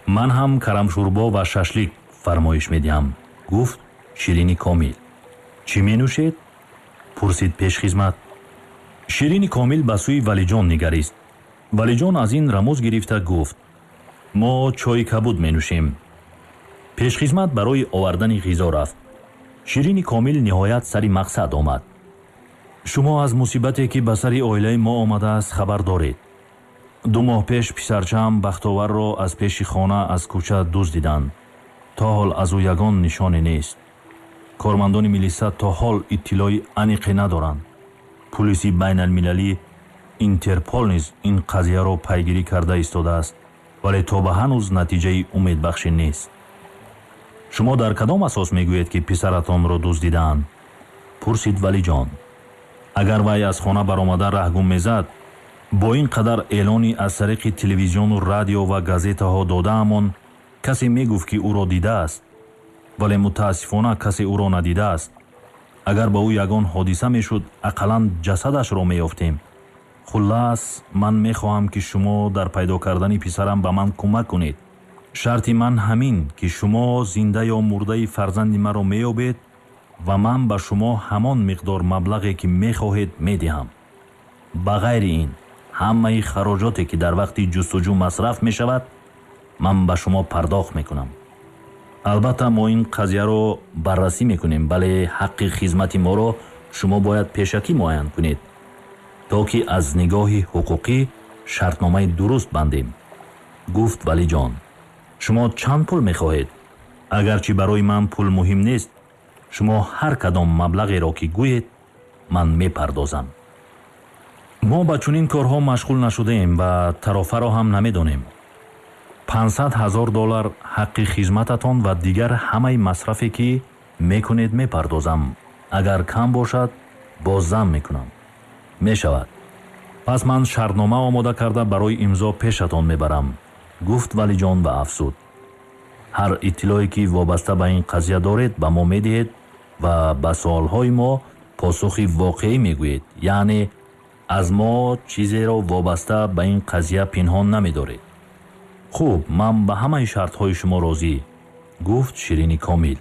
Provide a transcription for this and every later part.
Ман ҳам карамшӯрбо ва шашлик фармоиш медиҳам, гуфт Ширини Комил. Чӣ менӯшед? Пурсид пешхизмат. Ширини Комил ба сӯи Валиҷон нигарист. Валиҷон аз ин рамуз гирифта гуфт: мо чойи кабуд менӯшем. Пешхизмат барои овардани ғизо рафт. Ширини Комил ниҳоят сари мақсад омад. Шумо аз мусибате, ки ба сари оилаи мо омадааст, хабар доред. 2 моҳ пеш писарчаам Бахтоварро аз пеши хона аз кӯча дуздиданд. То ҳол аз ӯ ягон нишоне нест. Кормандони милиса то ҳол иттилои аниқе надоранд. Пулиси байналмилалӣ Интерпол низ ин қазияро пайгирӣ карда истодааст, вале то ба ҳанӯз натиҷаи умедбахше нест. Шумо дар кадом асос мегӯед, ки писаратонро дуздидаанд? Пурсид Валиҷон. Агар вай аз хона баромада раҳгум мезад, бо ин қадар эълони аз тариқи телевизиону радио ва газетаҳо додаамон, касе мегуфт, ки ӯро дидааст, вале мутаассифона касе ӯро надидааст. Агар ба ӯ ягон ҳодиса мешуд, ақаллан ҷасадашро меёфтем. Хуллас, ман мехоҳам, ки шумо дар пайдо кардани писарам ба ман кӯмак кунед. Шарти ман ҳамин, ки шумо зинда ё мурдаи фарзанди маро меёбед ва ман ба шумо ҳамон миқдор маблағе, ки мехоҳед, медиҳам. Ба ғайри ин, ҳамаи хароҷоте, ки дар вақти ҷустуҷӯ масраф мешавад, ман ба шумо пардохт мекунам. Албатта, мо ин қазияро баррасӣ мекунем, вале ҳаққи хизмати моро шумо бояд пешакӣ муайян кунед, то ки аз нигоҳи ҳуқуқӣ шартномаи дуруст бандем, гуфт Валиҷон. Шумо чанд пул мехоҳед? Агарчи барои ман пул муҳим нест, шумо ҳар кадом маблағеро, ки гӯед, ман мепардозам. Мо ба чунин корҳо машғул нашудаем ва тарофаро ҳам намедонем. 500 000 доллар ҳаққи хизмататон ва дигар ҳамаи масрафе, ки мекунед, мепардозам. Агар кам бошад, боз зам мекунам. Мешавад. Пас ман шартнома омода карда барои имзо пешатон мебарам, гуфт Валиҷон ва афзуд: ҳар иттилое, ки вобаста ба ин қазия доред, ба мо медиҳед ва ба суолҳои мо посухи воқеӣ мегӯед, яъне аз мо чизеро вобаста ба ин қазия пинҳон намедоред. Хуб, ман ба ҳамаи шартҳои шумо розӣ, гуфт Ширини Комил.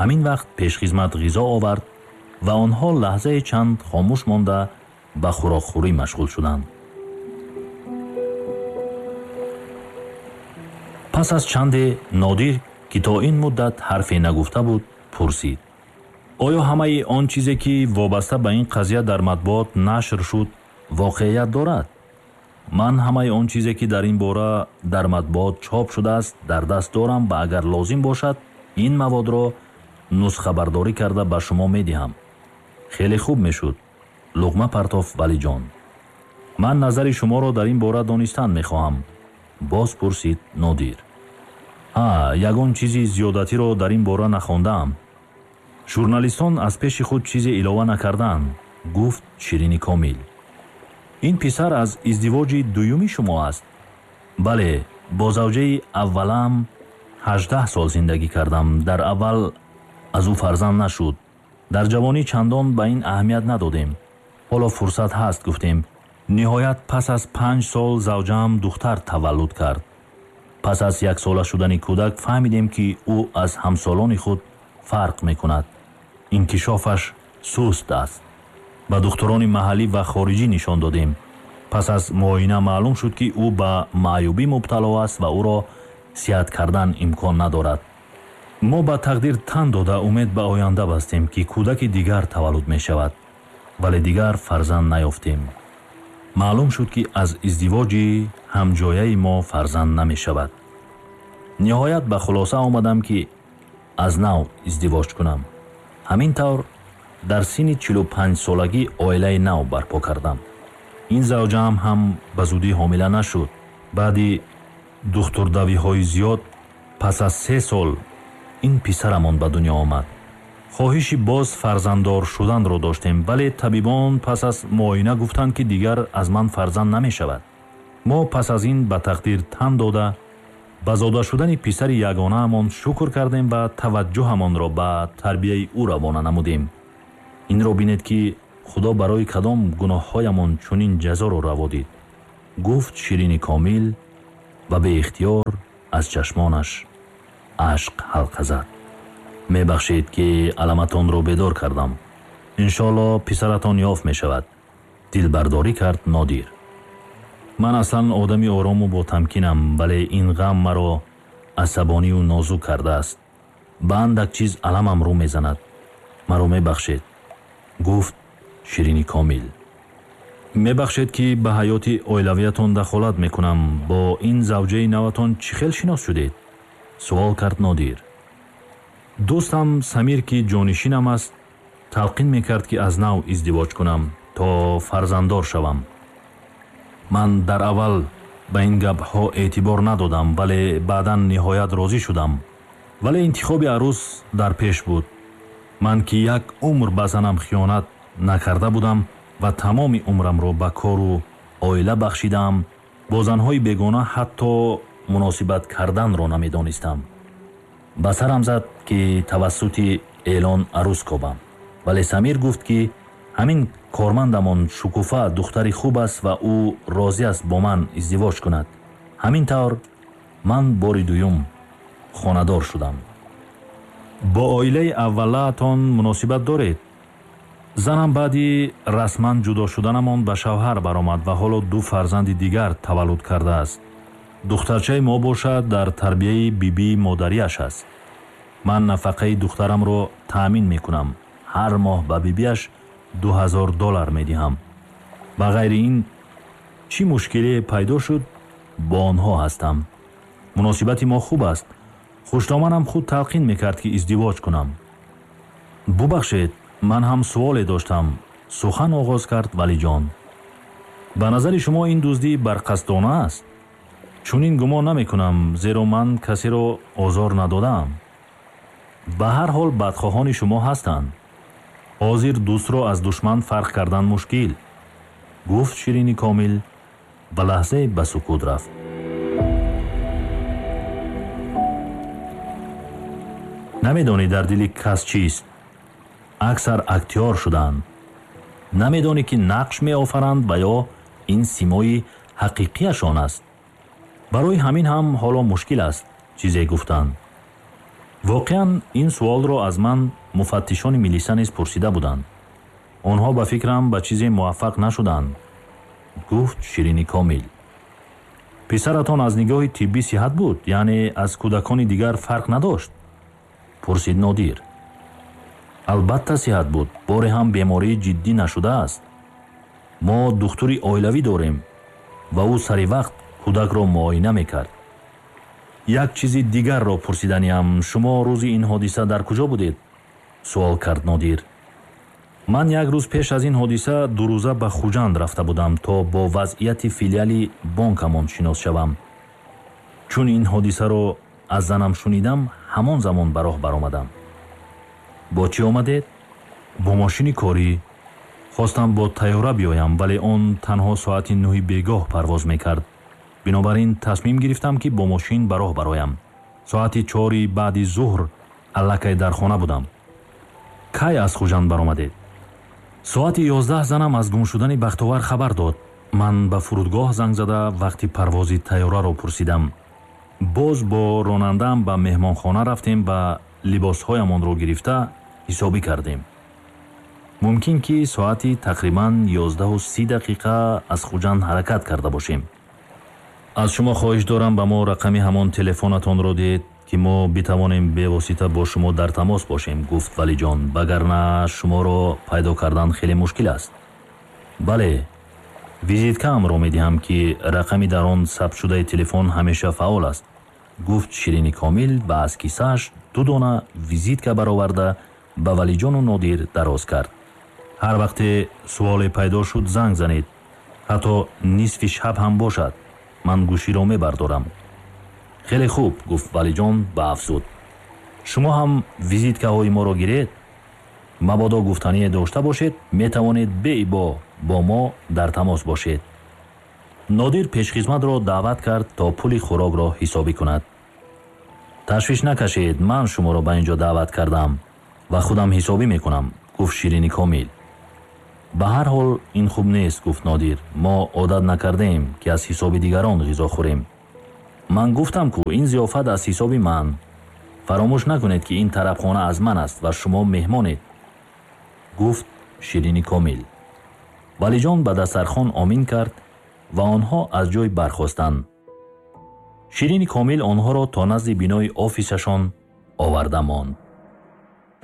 Ҳамин вақт пешхизмат ғизо овард ва онҳо лаҳзаи чанд хомӯш монда ба хӯрокхӯрӣ машғул шуданд. Пас аз чанде Нодир, ки то ин муддат ҳарфе нагуфта буд, пурсид: оё ҳамаи он чизе, ки вобаста ба ин қазия дар матбуот нашр шуд, воқеият дорад? Ман ҳамаи он чизе, ки дар ин бора дар матбуот чоп шудааст, дар даст дорам ва агар лозим бошад, ин маводро нусхабардорӣ карда ба шумо медиҳам. Хеле хуб мешуд, луғма партофт Валиҷон. Ман назари шуморо дар ин бора донистан мехоҳам, боз пурсид Нодир. Ҳа, ягон чизи зиёдатиро дар ин бора нахондаам. Журналистон аз пеши худ чизе илова накардаанд, гуфт Ширини Комил. Ин писар аз издивоҷи дуюми шумо аст? Бале, бо завҷаи аввалам 18 сол зиндагӣ кардам. Дар аввал аз ӯ фарзанд нашуд. Дар ҷавонӣ чандон ба ин аҳамият надодем. Ҳоло фурсат ҳаст, гуфтем. Ниҳоят пас аз 5 сол завҷаам духтар таваллуд кард. Пас аз яксола шудани кӯдак фаҳмидем, ки ӯ аз ҳамсолони худ фарқ мекунад. Инкишофаш суст аст. Ба духтурони маҳаллӣ ва хориҷӣ нишон додем. Пас аз муоина маълум шуд, ки ӯ ба маъюбӣ мубтало аст ва ӯро сиҳат кардан имкон надорад. Мо ба тақдир тан дода, умед ба оянда бастем, ки кӯдаки дигар таваллуд мешавад, вале дигар фарзанд наёфтем. Маълум шуд, ки аз издивоҷи ҳамҷояи мо фарзанд намешавад. Ниҳоят ба хулоса омадам, ки аз нав издивоҷ кунам. Ҳамин тавр дар синни 45 солагӣ оилаи нав барпо кардам. Ин завҷаам ҳам ба зудӣ ҳомила нашуд. Баъди духтурдавиҳои зиёд пас аз 3 сол ин писарамон ба дунё омад. Хоҳиши боз фарзанддор шуданро доштем, вале табибон пас аз муоина гуфтанд, ки дигар аз ман фарзанд намешавад. Мо пас аз ин ба тақдир тан дода, ба зода шудани писари ягонаамон шукр кардем ва таваҷҷӯҳамонро ба тарбияи ӯ равона намудем. Инро бинед, ки Худо барои кадом гуноҳҳоямон чунин ҷазоро раво дид, гуфт Ширини Комил ва беихтиёр Аз чашмонаш ашк ҳалқа зад. Мебахшед, ки аламатонро бедор кардам. Иншоалло писаратон ёфт мешавад, дилбардорӣ кард Нодир. Ман аслан одами орому ботамкинам, вале ин ғам маро асабонию нозук кардааст. Ба андак чиз аламам рӯ мезанад. Маро мебахшед, гуфт Ширини Комил. Мебахшед, ки ба ҳаёти оилавиятон дахолат мекунам. Бо ин завҷаи наватон чӣ хел шинос шудед? Суол кард Нодир. Дӯстам Самир, ки ҷонишинам аст, талқин мекард, ки аз нав издивоҷ кунам, то фарзанддор шавам. Ман дар аввал ба ин гапҳо эътибор надодам, вале баъдан ниҳоят розӣ шудам. Вале интихоби арӯс дар пеш буд. Ман, ки як умр ба занам хиёнат накарда будам ва тамоми умрамро ба кору оила бахшидаам, бо занҳои бегона ҳатто муносибат карданро намедонистам. Ба сарам зад, ки тавассути эълон арӯс кобам, вале Самир гуфт, ки ҳамин кормандамон Шукуфа духтари хуб аст ва ӯ розӣ аст бо ман издивоҷ кунад. Ҳамин тавр ман бори дуюм хонадор шудам. Бо оилаи аввалаатон муносибат доред? Занам баъди расман ҷудо шуданамон ба шавҳар баромад ва ҳоло ду фарзанди дигар таваллуд кардааст. Духтарчаи мо бошад, дар тарбияи бибии модариаш аст. Ман нафақаи духтарамро таъмин мекунам. Ҳар моҳ ба бибиаш 2000 доллар медиҳам. Ба ғайри ин, чӣ мушкиле пайдо шуд, бо онҳо ҳастам. Муносибати мо хуб аст. Хуштоманам худ талқин мекард, ки издивоҷ кунам. Бубахшед, ман ҳам суоле доштам, сухан оғоз кард Валиҷон. Ба назари шумо ин дуздӣ барқасдона аст? Чунин гумон намекунам, зеро ман касеро озор надодаам. Ба ҳар ҳол бадхоҳони шумо ҳастанд. Ҳозир дӯстро аз душман фарқ кардан мушкил, гуфт Ширини Комил ва лаҳзае ба сукут рафт. Намедонӣ, дар дили кас чист. Аксар актёр шудаанд. Намедонӣ, ки нақш меофаранд ва ё ин симои ҳақиқияшон аст. Барои ҳамин ҳам ҳоло мушкил аст чизе гуфтан. Воқеан, ин суолро аз ман муфаттишони милиса низ пурсида буданд. Онҳо, ба фикрам, ба чизе муваффақ нашуданд, гуфт Ширини Комил. Писаратон аз нигоҳи тиббӣ сиҳат буд, яъне аз кӯдакони дигар фарқ надошт? Пурсид Нодир. Албатта сиҳат буд, боре ҳам бемории ҷиддӣ нашудааст. Мо духтури оилавӣ дорем ва ӯ сари вақт кӯдакро муоина мекард. Як чизи дигарро пурсиданиам. Шумо рӯзи ин ҳодиса дар куҷо будед? Суол кард Нодир. Ман як рӯз пеш аз ин ҳодиса дурӯза ба Хуҷанд рафта будам, то бо вазъияти филиали бонкамон шинос шавам. Чун ин ҳодисаро аз занам шунидам, ҳамон замон ба роҳ баромадам. Бо чӣ омадед? Бо мошини корӣ. Хостам бо тайёра биёям, вале он танҳо соати 9-и бегоҳ парвоз мекард. Бинобар ин тасмим гирифтам, ки бо мошин ба роҳ бароям. Соати 4-и баъди зуҳр аллакай дар хона будам. Кай аз Хуҷанд баромадед? Соати 11 занам аз гум шудани Бахтовар хабар дод. Ман ба фурудгоҳ занг зада, вақти парвози тайёраро пурсидам. Боз бо ронандаам ба меҳмонхона рафтем ва либосҳоямонро гирифта ҳисобӣ кардем. Мумкин, ки соати тақрибан 11:30 аз Хуҷанд ҳаракат карда бошем. Аз шумо хоҳиш дорам, ба мо рақами ҳамон телефонатонро диҳед, ки мо битавонем бевосита бо шумо дар тамос бошем, гуфт Валиҷон, вагарна шуморо пайдо кардан хеле мушкил аст. Бале, визиткаамро медиҳам, ки рақами дар он сабтшудаи телефон ҳамеша фаъол аст, гуфт Ширини Комил ва аз кисааш ду дона визитка бароварда, ба Валиҷону Нодир дароз кард. Ҳар вақте суоле пайдо шуд, занг занед. Ҳатто нисфи шаб ҳам бошад, ман гӯширо мебардорам. Хеле хуб, гуфт Валиҷон ва афзуд: шумо ҳам визиткаҳои моро гиред. Мабодо гуфтание дошта бошед, метавонед беибо бо мо дар тамос бошед. Нодир пешхизматро даъват кард, то пули хӯрокро ҳисобӣ кунад. Ташвиш накашед, ман шуморо ба ин ҷо даъват кардам ва худам ҳисобӣ мекунам, гуфт Ширини Комил. Ба ҳар ҳол ин хуб нест, гуфт Нодир. Мо одат накардаем, ки аз ҳисоби дигарон ғизо хӯрем. Ман гуфтам, ку ин зиёфат аз ҳисоби ман. Фаромӯш накунед, ки ин тарабхона аз ман аст ва шумо меҳмонед, гуфт Ширини Комил. Валиҷон ба дастархон омин кард ва онҳо аз ҷой бархостанд. Ширини Комил онҳоро то назди бинои офисашон оварда монд.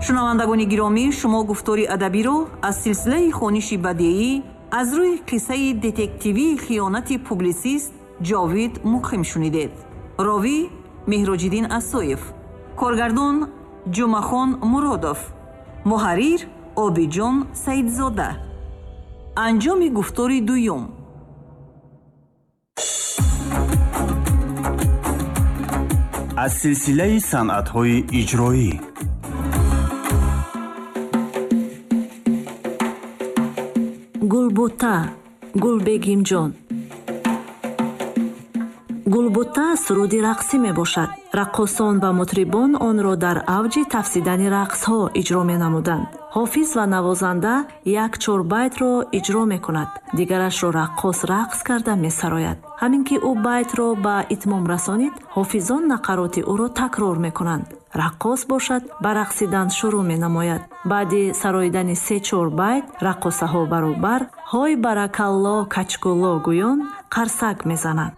Шунавандагони гиромӣ, шумо гуфтори адабиро аз силсилаи хониши бадеӣ аз рӯи қиссаи детективии хиёнати публисист Ҷовид Муқим шунидед. Ровӣ Меҳроҷиддин Асоев, коргардон Ҷумъахон Муродов, муҳаррир Обиҷон Саидзода. Анҷоми гуфтори дуюм. Аз силсилаи санъатҳои иҷроӣ. Гулбута, Гулбегимҷон. Гулбута суруди рақсӣ мебошад. Раққосон ва мутрибон онро дар авҷи тафсидани рақсҳо иҷро менамуданд. Ҳофиз ва навозанда як чорбайтро иҷро мекунад, дигарашро раққос рақс карда месарояд. Ҳамин ки ӯ байтро ба итмом расонид, ҳофизон нақароти ӯро такрор мекунанд. Раққос бошад, ба рақсидан шурӯъ менамояд. Баъди сароидани се-чор байт раққосаҳо баробар «Ҳой баракалло, качкулло» гӯён қарсак мезананд.